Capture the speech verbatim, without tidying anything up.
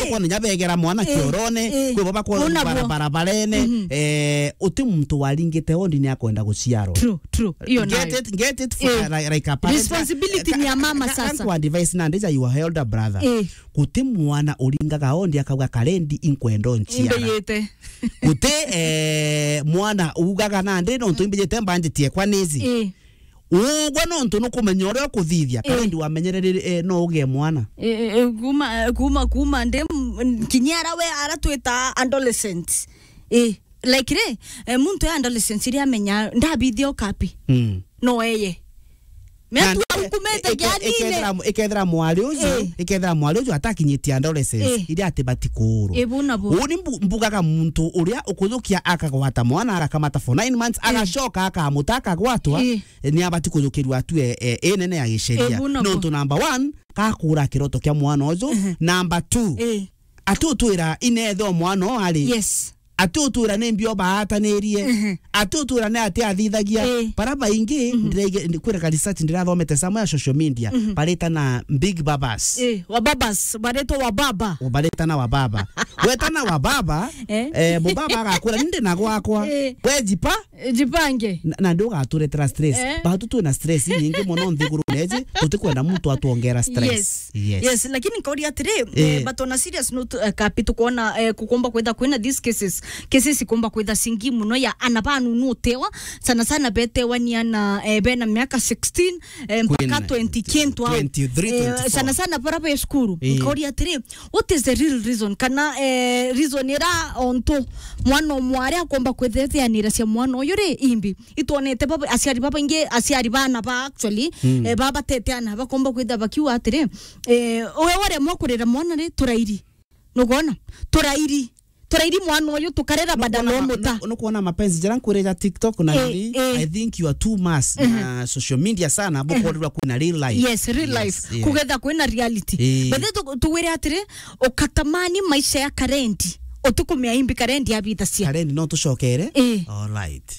Kwona nya begera mwana, eh, kiorone, eh, kwi bo bakwona, ona bo, barabarene, mhm, eh, uti muntu waringite ondi ni akwenda guciarwa. True, true. Iyo nayo. Get it, get it for, eh, like, like a parent. Responsibility ni ya mama sasa. Kwa advice na ndija your elder brother. Eh. Guti mwana uringaga ondi akauga, "Karendi, inkwenda onciara." Imbeyete. Guti, eh, mwana ugaga, "Nandi nontu imbeyete mbanjitie kwa nizi." Eh. Ugwe nontu nukumenya uria ukuthithia, eh, Karendi wamenyerere, eh, no ugie mwana. Eh, eh, eh, kuma, kuma, kuma ndi m-, kinyara we ara twita adolescent. Eh, like ri, eh, muntu ya adolescent ri amenya ndabithia ukapi. Mm. No eye. Na mea tu e-, aukumete e-, e-, gianine. Ikethira, ikethira mwari uju, eh, ikethira mwari uju atakinyitie adolescence, eh, iria ati batikuurwa. Eh, bu na bu. Uu ni mbu-, mbugaga muntu uria ukuthukia akagwata mwana, arakamata for nine months, eh, agacoka akamuta, akagwatwa, eh, ni abati kujukirua atue, eh, inene ya giceria. Eh, bu na bu. Nontu number one, kakura kiroto kia mwana uju. Mhm. Number two, eh, ati utwira inethe o mwana o ari. Yes. Ati utwira ni mbio baatanirie. Mhm. Ati utwira ni ati athithagia. Eh. Bara baingi, mhm, ndiraige-, ndi-, kwira ka research ndirathomete somewhere social media, mhm, baritana big babas. Eh, wa babas, baritwa wa baba. O baritana wa baba. Wetana wa baba, eh, eh, mubaba agakwira, "Ninde na gwakwa." Eh. We jipa, eh, jipange. Na, na ndi ugaturetera stress. Eh. Batu twina stress nyingi mono nthigurune iji, tutikwenda muntu atwongera stress. Yes. Yes. Yes, lakini nkauria atiri, eh, eh, but on a serious note, eh, kapi tukwona, eh, kukomba kwitha kwina these cases, cases ikomba kwitha cingi muno ya ana banunu utewa, sana sana betewa ni ana, eh, bena miaka sixteen, eh, mpaka twenty kintu au. Twenty-three, eh, twenty-four. Sana sana bara be cukuru. Eh. Nkauria atiri, what is the real reason? Kana, eh, reason ira ontu mwana umwe aria akomba kwithethianira cia mwana uyu ri imbi? Itwonete baba, aciari babaingi, aciari bana ba actually, mm, eh, babatete ana bakomba kwitha bakiuga atiri, eh, we waremwa kurera mwana ri, turairi. Nugona? Turairi. Turairi mwana uyu tukarera badala wa muta. Nukwona ma-, nu-, nukwona mapenzi jara nkwire ja TikTok na, eh, nini? Eh. I think you are too much, mhm, na social media sana, mhm, bukorerwa kwina real life. Yes, real life. Yes, yes. Kugetha kwina reality. Eh. But then tu-, tuwire atiri, ukatamani maisha ya Karendi, utikumia imbi Karendi abithacia. Karendi no tucokere? Eh. All right.